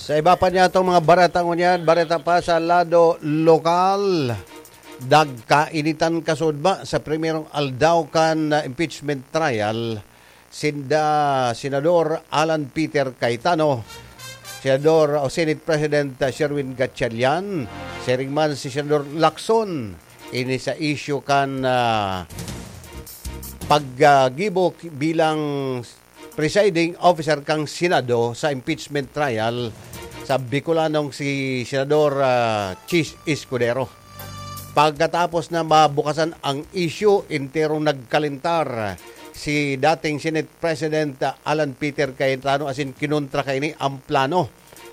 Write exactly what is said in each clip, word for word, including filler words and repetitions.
Sa iba pa niya itong mga bareta ngunyan, bareta pa sa lado lokal. Nagkainitan kasudma sa primerong aldaw kan, ah, impeachment trial sinda Senador Alan Peter Cayetano, Senador o Senate President, ah, Sherwin Gatchalian, siring man si Senador Lacson. Ini sa isyu kan, ah, paggibo bilang presiding officer kan Senado sa impeachment trial sa Bicolanong si Senador, ah, Chiz Escudero. Pagkatapos na mabukasan ang isyu, enterong nagkalintar si dating Senate President, ah, Alan Peter Cayetano asin kinontra kaini ang plano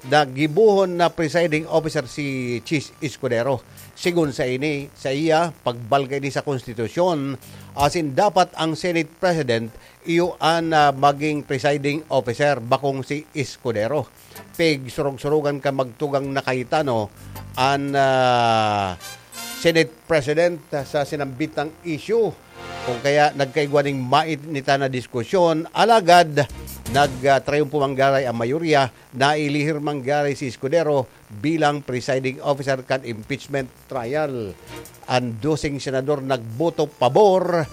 na gibohon na presiding officer si Chiz Escudero. Sigon sa ini, sa iya, pagbalga ini sa konstitusyon, asin dapat ang Senate President iyo an, ah, maging presiding officer, bakong si Escudero. Pigsurog-surugan kan magtugang na Cayetano an, ah, Senate President sa sinambitang issue. Kung kaya nagkaigwa ning mainitan na diskusyon, alagad nag, ah, triumpo man giraray ang mayorya, nailihir man giraray si Escudero bilang presiding officer kan impeachment trial. An doseng senador nagboto pabor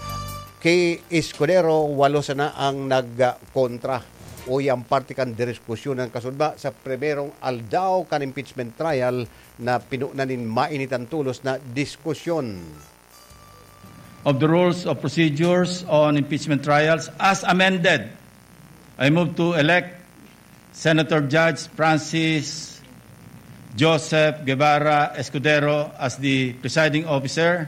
ki Escudero, walo sana ang nagkontra. Uya an parte kan diskusyon na kasudma sa primerong aldaw kan impeachment trial na pinunan nin mainitan tolos na diskusyon. Of the rules of procedures on impeachment trials as amended, I move to elect Senator Judge Francis Joseph Guevara Escudero as the presiding officer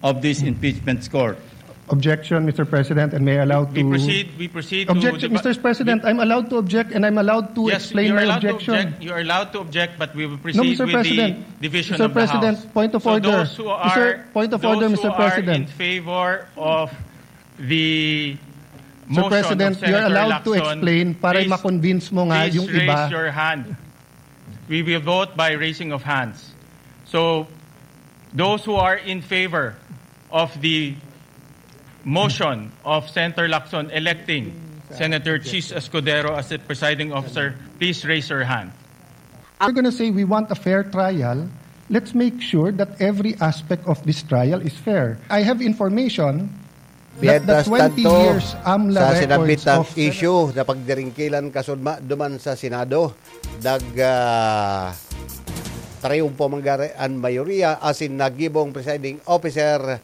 of this impeachment court. Objection, Mister President, and may I allow to... We proceed, we proceed to... Objection, the... Mister President, I'm allowed to object and I'm allowed to Yes, explain you're my allowed objection. to object. You're allowed to object, but we will proceed No, Mister with President. the division Mister of the President, House. point of So order. Those who are, Mister Point of those order, who Mister are President. in favor of the Mister motion President, of Senator you're allowed to Lacson, explain para please, ma-convince mo nga please yung raise iba. Your hand. We will vote by raising of hands. So, those who are in favor of the motion of Senator Lacson electing Senator Chiz Escudero as the presiding officer, please raise your hand. We're gonna say we want a fair trial. Let's make sure that every aspect of this trial is fair. I have information that the Mientras twenty tanto, years AMLA sa records sinambitang of issue na pagdiringkilan kasudma duman sa Senado, nag, ah, triumpo man giraray an mayoriya asin nagibong presiding officer,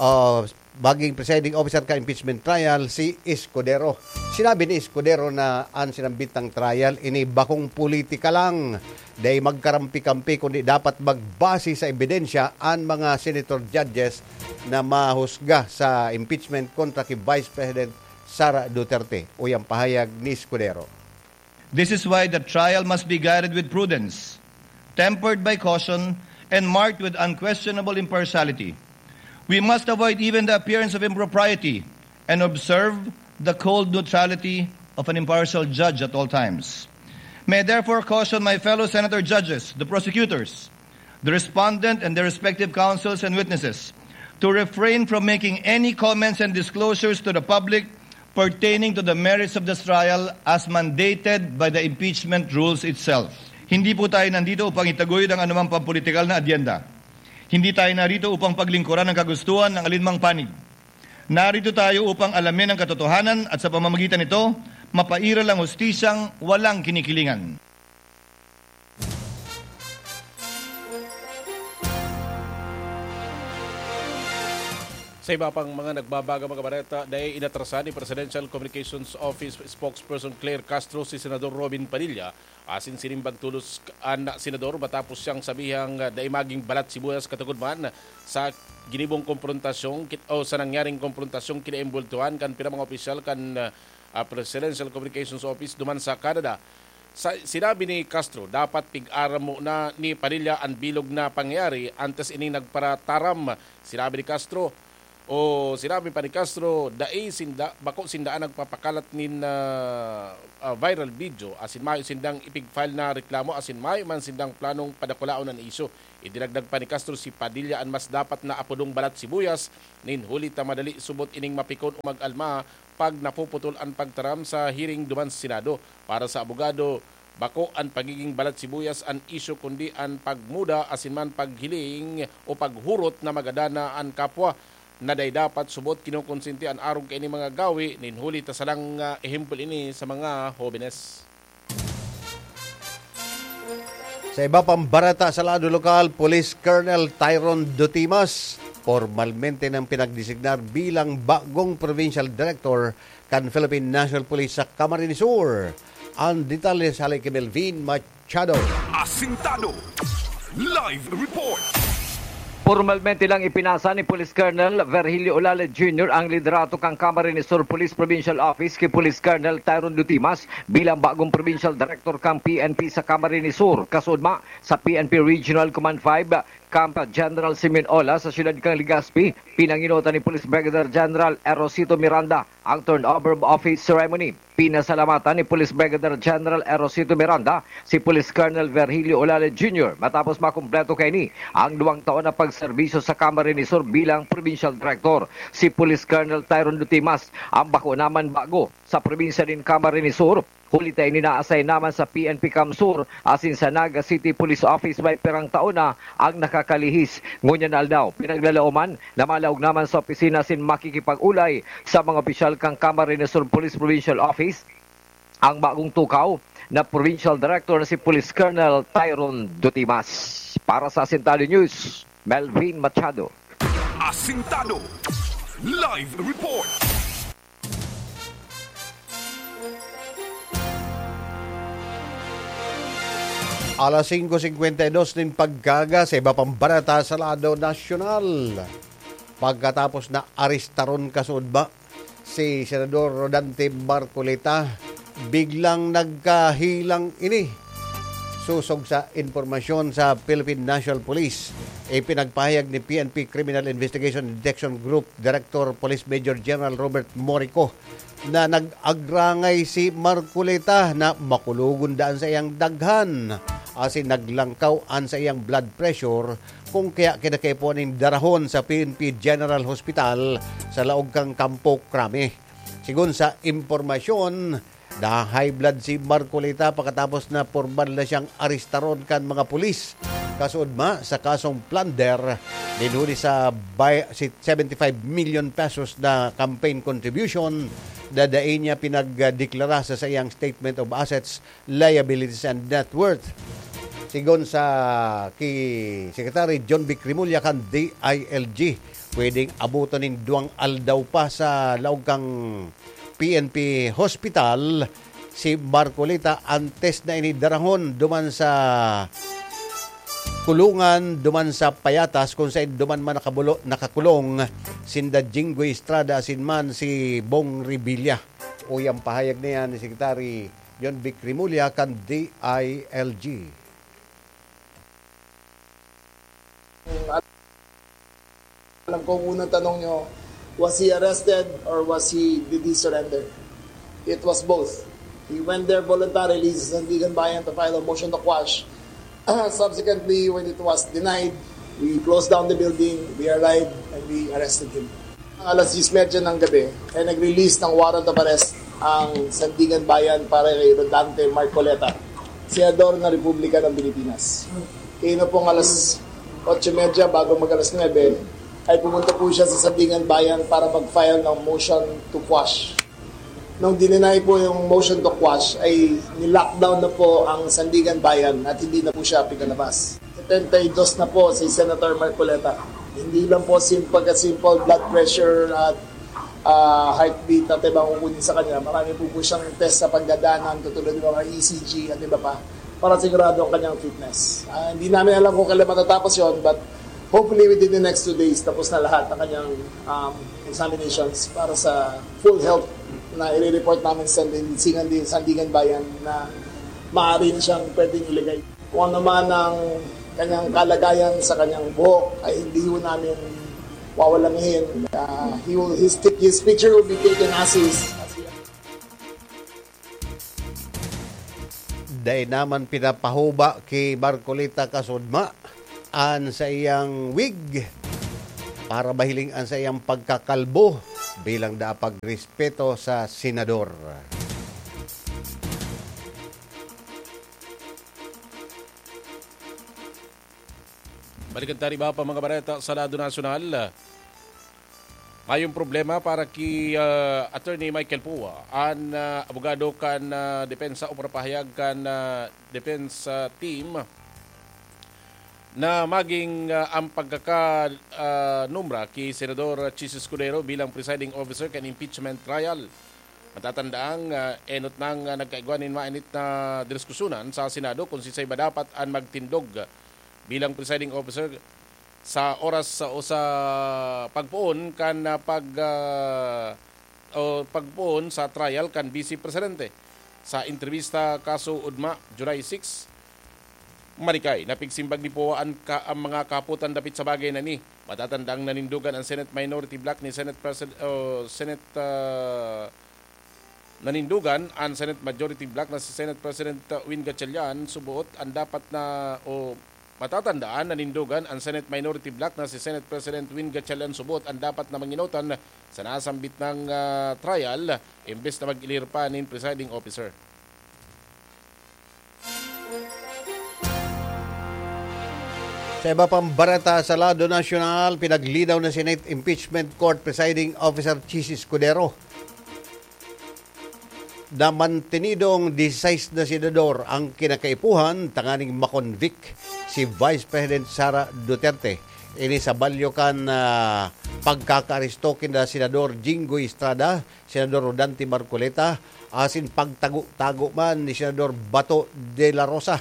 ah, maging presiding officer ka impeachment trial si Escudero. Sinabi ni Escudero na an sinambitang trial ini bakong politika lang. Dai magkarampi-kampi kundi dapat magbase sa ebidensya an mga senator judges na mahusga sa impeachment kontra ki Vice President Sara Duterte. Uya an pahayag ni Escudero. This is why the trial must be guided with prudence, tempered by caution, and marked with unquestionable impartiality. We must avoid even the appearance of impropriety and observe the cold neutrality of an impartial judge at all times. May I therefore caution my fellow senator judges, the prosecutors, the respondent, and their respective counsels and witnesses to refrain from making any comments and disclosures to the public pertaining to the merits of this trial as mandated by the impeachment rules itself. Hindi po tayo nandito upang itaguyod ang anumang pampolitikal na adyenda. Hindi tayo narito upang paglingkuran ang kagustuhan ng alinmang panig. Narito tayo upang alamin ang katotohanan at sa pamamagitan nito, mapairal ang hustisyang walang kinikilingan. Sa iba pang mga nagbabaga mga bareta, dai inatrasan ni Presidential Communications Office Spokesperson Claire Castro si Senador Robin Padilla asin sinimbag tolos an senador matapos siyang sabihang dai maging balat sibuyas katugod man sa ginibong komprontasyong kit-, o sa nangyaring komprontasyong kinaimbultuhan kan pira mga opisyal kan, ah, Presidential Communications Office duman sa Canada. Sa, sinabi ni Castro, dapat pig-aram mo na ni Padilla an bilog na pangyayari antes ining nagparataram. Sinabi ni Castro, o sinabi pa ni Castro, dai sinda, bako sinda an nagpapakalat nin, ah, ah, viral video, asin mayo sindang ipig-file na reklamo, asin mayo man sindang planong padakulaon an isyu. Idinagdag pa ni Castro, si Padilla an mas dapat na apodong balat sibuyas, nin huli ta madali subot ining mapikon o mag-alma pag napuputol an pagtaram sa hearing duman sa Senado. Para sa abogado, Bako an pagiging balat sibuyas an isyu, kundi an pagmuda asin man paghiling o paghurot na magadana an kapwa. Na dai dapat subot kinokonsente an arog kaini mga gawi, nin huli ta salang, ah, ehemplo ini sa mga hobenes. Sa iba pang bareta sa lado lokal, Police Colonel Tyron Dutimas, pormalmente nang pinagdesignar bilang bagong provincial director kan Philippine National Police sa Camarines Sur. Ang detalye sa hali ki Melvin Machado. Asintado. Live report. Pormalmente lang ipinasa ni Police Colonel Virgilio Olale Junior ang liderato kan Camarines Sur Police Provincial Office ki Police Colonel Tyron Dutimas bilang bagong provincial director kan P N P sa Camarines Sur. Kasudma sa P N P Regional Command five, Camp General Simeon Ola sa siyudad kan Legazpi, pinangenotan ni Police Brigadier General Erosito Miranda ang turnover of office ceremony. Pinasalamatan ni Police Brigadier General Erosito Miranda si Police Colonel Virgilio Olale Junior matapos makumpleto kaini ang duwang taon na pagserbisyo sa Camarines Sur bilang Provincial Director. Si Police Colonel Tyron Dutimas ang bako naman bago sa probinsya nin Camarines Sur. Huli ta ini na-assign naman sa P N P CamSur asin sa Naga City Police Office may pirang taon na ang nakakalihis. Ngunyan na aldaw, pinaglalaoman na malaog naman sa opisina asin makikipag-ulay sa mga opisyal kan Camarines Sur Police Provincial Office ang bagong tukaw na Provincial Director na si Police Colonel Tyron Dutimas. Para sa Asintado News, Melvin Machado. Asintado. Live report. Alas singko singkwenta y dos nin pagkaga sa iba pang bareta sa lado nasyonal. Pagkatapos na arestaron kasudma si Senador Rodante Marcoleta, biglang nagkahilang ini. Sosog sa impormasyon sa Philippine National Police, ipinagpahayag ni P N P Criminal Investigation and Detection Group Director Police Major General Robert Morico na nag-agrangay si Marcoleta na makulogon daa an saiyang daghan asin naglangkaw an saiyang blood pressure, kung kaya kinakaipuhan nin darahon sa P N P General Hospital sa laog kan Campo Crame. Sigon sa impormasyon, na-high blood si Marcoleta pakatapos na pormal na siyang arestaron kan mga pulis, kasuodma sa kasong plunder nin huli sa bay-, si seventy-five million pesos na campaign contribution na dai niya pinagdeklara sa saiyang statement of assets, liabilities, and net worth. Sigon sa ki Secretary John Vic Remulla kan D I L G, pwedeng abuton nin duwang aldaw pa sa laog kan P N P Hospital si Marcoleta antes na ini darahon duman sa kulungan, duman sa Payatas, kung saen duman man nakabulo-, nakakulong sinda Jinggoy Estrada asin man si Bong Revilla. Uya an pahayag na yan ni Secretary John Vic Remulla kan D I L G. Alam ko, ang unang tanong nyo, was he arrested or was he, did he surrender? It was both. He went there voluntarily sa Sandigan Bayan to file a motion to quash. Subsequently, when it was denied, we closed down the building, we arrived, and we arrested him. Alas diyes medya ng gabi, ay nag-release ng warrant of arrest ang Sandigan Bayan para kay Rodante Marcoleta, Senador ng Republika ng Pilipinas. Kaya na pong alas otso medya, bago mag alas nuebe, ay pumunta po siya sa Sandigan Bayan para mag-file ng motion to quash. Nung dininay po yung motion to quash, ay ni-lockdown na po ang Sandigan Bayan at hindi na po siya pinalabas. Setenta y dos na po si Senator Marcoleta. Hindi lang po sim-, pagka-simple blood pressure at, ah, heartbeat na tebang kukunin sa kanya. Marami po po siyang test sa pagdadaanan, katulad ng mga E C G at iba pa, para sigurado ang kanyang fitness. Ah, hindi namin alam kung kailan matatapos yon, but hopefully within the next two days, tapos na lahat ng kanyang, um, examinations para sa full health na i-report namin sa Sandigan, Sandigan Bayan na maaari na siyang pwedeng ilagay. Kung ano man ang kanyang kalagayan sa kanyang buhok, ay hindi ho namin wawalangihin. Ah, he will, his, his picture will be taken as is. Dai naman pinapahuba ki Marcoleta kasudma an saiyang wig para mahiling an saiyang pagkakalbo bilang daa pagrespeto sa senador. Balikan ta an iba pa mga bareta sa lado nasyonal. Mayong problema para ki, ah, Attorney Michael Pua, an, ah, abogado kan, ah, depensa o parapahayag kan, ah, depensa team na maging, ah, ang pagkaka-, ah, nombra ki Senador Chiz Escudero bilang presiding officer kan impeachment trial. Matatandaang, ah, enot nang, ah, nagkaigwa nin mainit na diskusyonan sa Senado kung siisay ba dapat an magtindog bilang presiding officer sa oras sa, o sa pagpoon kan, ah, pag, ah, o pagpoon sa trial kan Vice Presidente. Sa entrevista kaso ugma, July six, Marikay, napigsimbag ni Poa an ka-, ang mga kahapotan dapit sa bagay na ini. Matatandang nanindogan ang Senate Minority Bloc ni Senate President, o Senate, ah, nanindogan ang Senate Majority Bloc na si Senate President, ah, Win Gatchalian subuot ang dapat na, o matatandaan, nanindogan ang Senate Minority Bloc na si Senate President Win Gatchalian subuot ang dapat na manginotan sa nasambit nang, ah, trial, imbes na mag-ilir pa nin presiding officer. Sa iba pang bareta sa lado nasyonal, pinaglinaw na Senate Impeachment Court Presiding Officer Chiz Escudero na mantenidong disisais na senador ang kinakaipuhan tanganing makonvict si Vice President Sara Duterte. Ini sa balyo kan, ah, pagkakaaresto kinda Senador Jinggoy Estrada, Senador Rodante Marcoleta, asin pagtago-tago man ni Senador Bato de la Rosa.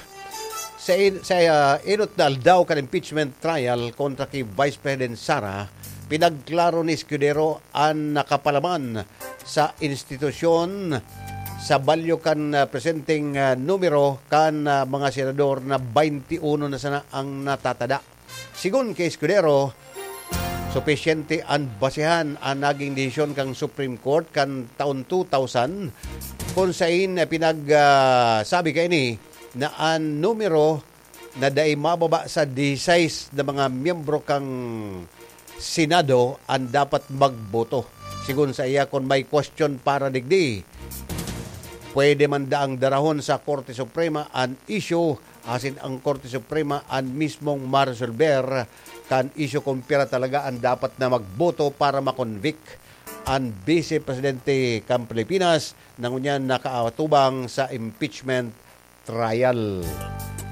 Sa in-, sa, ah, enot na aldaw kan impeachment trial kontra ki Vice President Sara, pinagklaro ni Escudero an nakapalaman sa institusyon sa balyo kan, ah, presenteng, ah, numero kan, ah, mga senador na twenty-one na sana ang natatada. Sigon ki Escudero, supisyente an basehan an naging desisyon kan Supreme Court kan taon two thousand, kun sain pinag, ah, sabi kaini na an numero na dai mababa sa disisais na mga miyembro kan Senado an dapat magboto. Sigon saiya, kun may question para digdi, pwede man daang darahon sa Korte Suprema an isyu asin ang Korte Suprema an mismong maresolber kan isyu kun pira talaga an dapat na magboto para makonvict an Vice Presidente kan Pilipinas na ngunyan nakaatubang sa impeachment trial.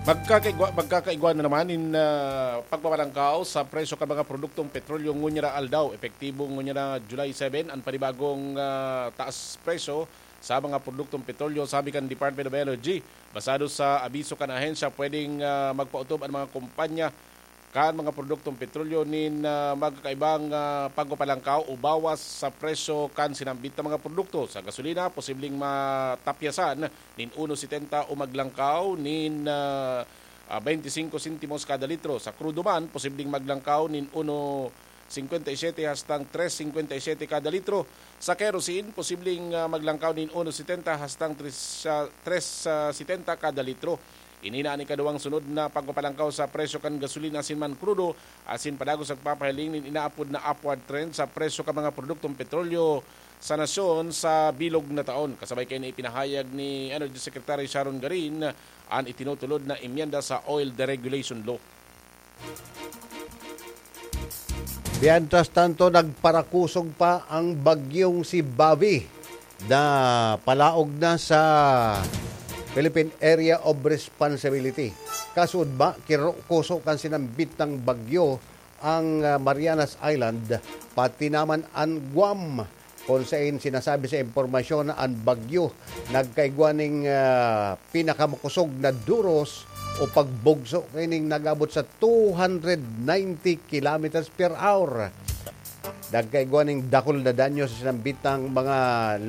Magkakaigwa, magkakaigwa na naman nin, ah, pagpapalangkaw sa presyo kan mga produktong petrolyo ngunyan na aldaw. Epektibo ngunyan na July seven an panibagong, ah, taas presyo sa mga produktong petrolyo, sabi kan Department of Energy. Basado sa abiso kan ahensya, pwedeng, ah, magpaotob an mga kumpanya kan mga produktong petrolyo nin, ah, magkakaibang, ah, pagpapalangkaw o bawas sa presyo kan sinambit na mga produkto. Sa gasolina, posibleng matapyasan nin uno setenta o maglangkaw nin, ah, ah, twenty-cinco sentimos kada litro. Sa krudo man, posibleng maglangkaw nin uno cincuenta y siete hastang tres cincuenta y siete kada litro. Sa kerosene, posibleng, ah, maglangkaw nin uno setenta hastang tres, ah, tres setenta kada litro. Ini na an ikaduwang sunod na pagpapalangkaw sa presyo kan gasolina asin man krudo, asin padagos nagpapahiling nin inaapod na upward trend sa presyo kan mga produktong petrolyo sa nasyon sa bilog na taon. Kasabay kaini, ipinahayag ni Energy Secretary Sharon Garin an itinutulod na emyenda sa Oil Deregulation Law. Mientras tanto, nagparakosog pa ang bagyong si Bavi na palaog na sa Philippine Area of Responsibility. Kaso ugma, kirokoso kan sinambit na bagyo ang, ah, Marianas Island, pati naman an Guam. Kun sain sinasabi sa impormasyon na an bagyo nagkaigwa ning, ah, pinakamakosog na duros o pagbugso kaining nag-abot sa two hundred ninety kilometers per hour. Nagkaigwa ning dakul na danyo sa sinambitang mga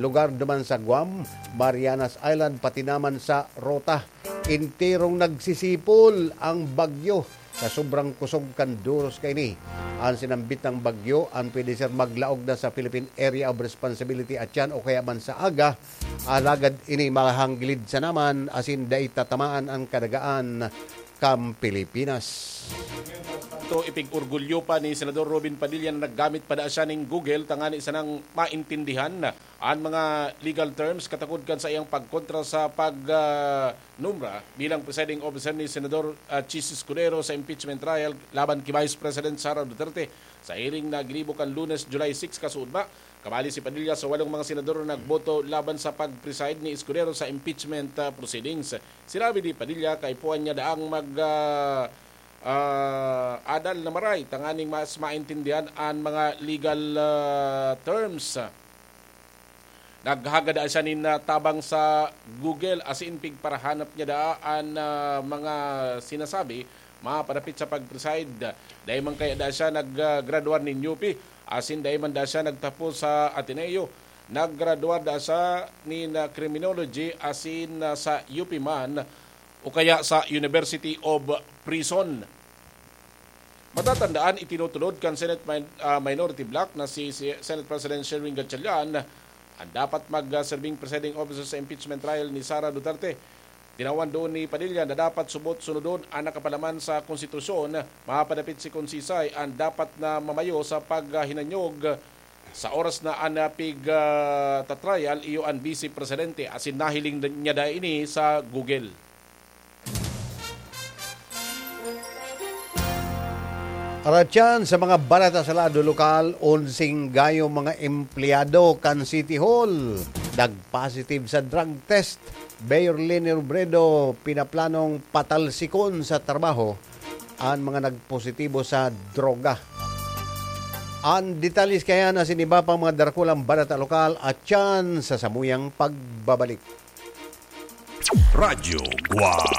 lugar duman sa Guam, Marianas Island, pati naman sa Rota. Enterong nagsisipol ang bagyo sa sobrang kusog kan duros kaini. An sinambit na bagyo an pwede ser maglaog na sa Philippine Area of Responsibility atian o kaya man sa aga, alagad ini mahanggilid sana man asin dai tatamaan an kadagaan kan Pilipinas. Ito, ipig-orgulyo pa ni Senador Robin Padilla na naggamit pa daa siya ning Google tangani sanang maintindihan an mga legal terms katakod kan saiyang pagkontra sa pag, ah, numra bilang presiding officer ni Senador, ah, Chiz Escudero sa impeachment trial laban ki Vice President Sara Duterte sa hearing na ginibo kan Lunes, July six, kasuodma. Kabali si Padilla sa walong mga senador na nagboto laban sa pag-preside ni Escudero sa impeachment, ah, proceedings. Sinabi ni Padilla, kaipuhan niya daang mag, ah, ah, adal na maray tanganing mas maintindihan an mga legal, ah, terms. Naghagad siya nin, ah, tabang sa Google, asin pigparahanap niya daa an, ah, mga sinasabi mapadapit sa pag-preside. Dai man kaya daa siya nag, ah, graduar nin U P, asin dai man daa siya nagtapos sa Ateneo. Naggraduar daa siya nin, ah, criminology, asin, ah, sa U P man o kaya sa University of Prison. Matatandaan, itinutulod kan Senate Min-, ah, Minority Bloc na si, si Senate President Sherwin Gatchalian an dapat mag, ah, serbing presiding officer sa impeachment trial ni Sara Duterte. Tinawan doon ni Padilla na dapat subot sunodon an nakapalaman sa konstitusyon, mapadapit si Conchisay an dapat na mamayo sa paghinanyog sa oras na an, ah, pig, ah, tatrial iyo an Vice Presidente, asin nahiling niya daa ini sa Google. Aratyan sa mga balita sa lado lokal, onseng gayo mga empleyado kan City Hall nag-positive sa drug test. Mayor Leni Robredo pinaplanong patalsikon sa trabaho an mga nagpositibo sa droga. An detalye kaya na siniba pang mga darakulang balita lokal at yan sa samuyang pagbabalik. Radyo Guwang.